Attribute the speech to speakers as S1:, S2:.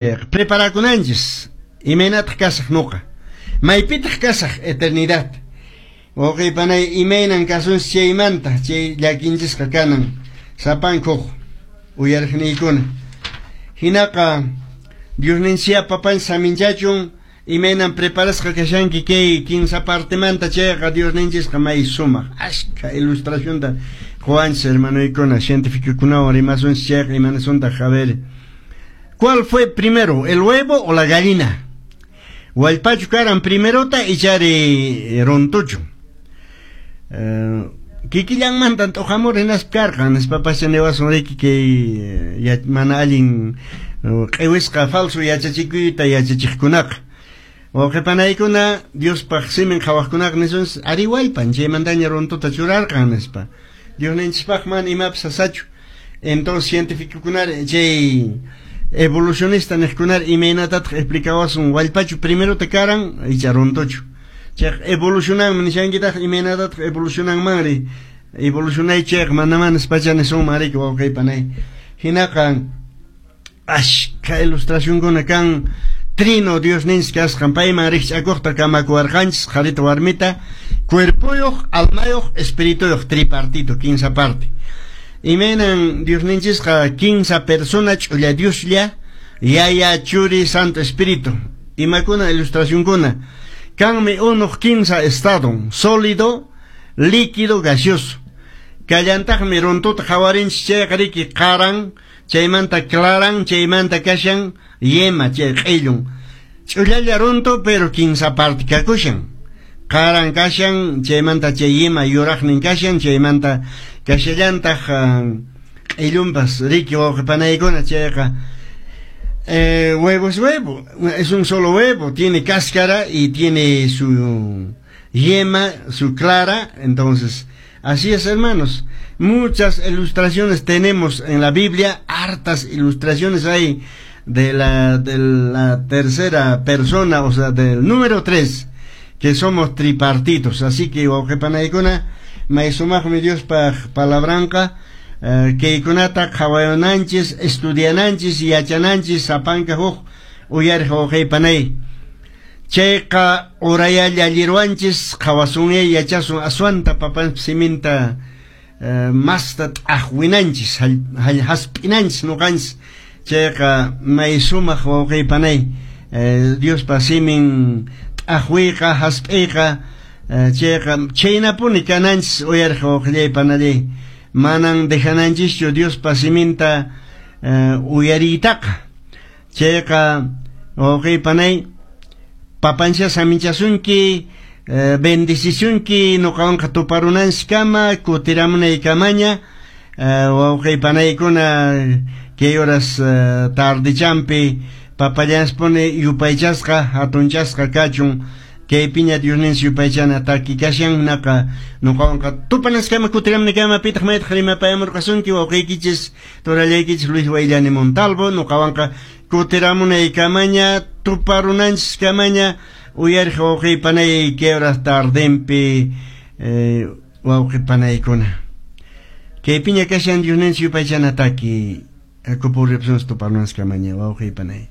S1: Preparakunanchis, imaynataq kasaq nuqa? Maypitaq kasaq eternidad? Wawqiy panay, imaynan kasunchis chaymanta, chay llakinchisqa kanan sapankuq uyariqniykuna. Hinaqa Diosninchis papanchis saminchachun, imaynan preparasqa kashanki kay kinsa partemanta chayqa Diosninchisqa may sumaq ashka ilustracionta qowanchis hermanoykuna, cientificokunawan rimasunchis chayqa imanasuntaq. A ver, ¿cuál fue primero, el huevo o la gallina? Wallpachu karan primerota ichari runtuchu? Kikillanmantan t'uqamur hinaspa karqan nispapas niwasun riki kay mana allin q'iwisqa falso yachachikuyta yachachiqkunaqa. Wawqipanaykuna Diospaq simin qhawaqkunaqa nisunchis ari wallpan chaymantaña runtuta churarqan nispa. Diosninchispaq mana imapas sasachu. Entonces cientificokunari chay evolucionista niqkunari imaynatataq explicawasun wallpachu primerota karan icha runtuchu. Chayqa evolucionanman nishankitaq imaynatataq evolucionanmanri evolucionay chayqa mana mana nispacha nisunman riki wawqipanay. Hinaqa ashka ilustracionkuna kan trino Diosninchis kasqan payman rikch'akuqta kamakuwarqanchis qharita warmita cuerpoyuq almayuq espirituyuq tripartito kinsa parte. Imaynan Diosninchisqa kinsa persona ch'ulla Dioslla Yaya Churi Santo Espíritu. Imakuna ilustracionkuna kanmi unuq kinsa estado sólido, líquido, gaseoso. Kallantaqmi runtuta qhawarinchis chayqa riki qaran, chaymanta claran, chaymanta kashan yema chay q'illun. Ch'ullalla runtu pero kinsa parte kakushan. Qaran kashan, chaymanta chay yema yuraqnin kashan, chaymanta kashallantaq q'illunpas riki wawqipanaykuna chayqa huevo es huevo, es un solo huevo, tiene cáscara y tiene su yema, su clara, entonces, así es, hermanos. Muchas ilustraciones tenemos en la Biblia, hartas ilustraciones hay de la tercera persona, o sea, del número 3, que somos tripartitos. Así que, wawqipanaykuna, may sumaqmi Diospaq palabranqa, kaykunata qhawayananchis, estudiananchis, yachananchis, sapanka huk uyariq wawqipanay. Chayqa urayalla allirwanchis, qhawasunyay yachasun aswanta papanchis siminta masta t'aqwinanchis, hasp'inanchis nuqanchis. Chayqa may sumaq wawqipanay, Diospa simin t'aqwiyqa, hasp'iyqa, chayqa chaynapuni kananchis uyariq wawqillay panallay. Manan dejananchischu Diospa siminta uyariytaqa. Chayqa wawqipanay, papancha saminchasunki, bendicisunki nuqawanqa tuparunanchiskama, kutiramunaykamaña, wawqipanaykuna kay horas tardechampi papallanspuni yupaychasqa, hatunchasqa kachun. Kaypiña Diosninchis yupaychana taki kashan naqa nuqawanqa tupanaskama kutiramunaykama pitaq maytaq rimapayamurqasunki wawqiykichis turallaykichis Luis Wayllani Montalvo nuqawanqa kutiramunaykamaña tuparunanchiskamaña uyariq wawqipanay kay horas tardenpi wawqipanaykuna. Kaypiña kashan Diosninchis yupaychana taki kupuripsunchis tuparunanchiskamaña wawqipanay.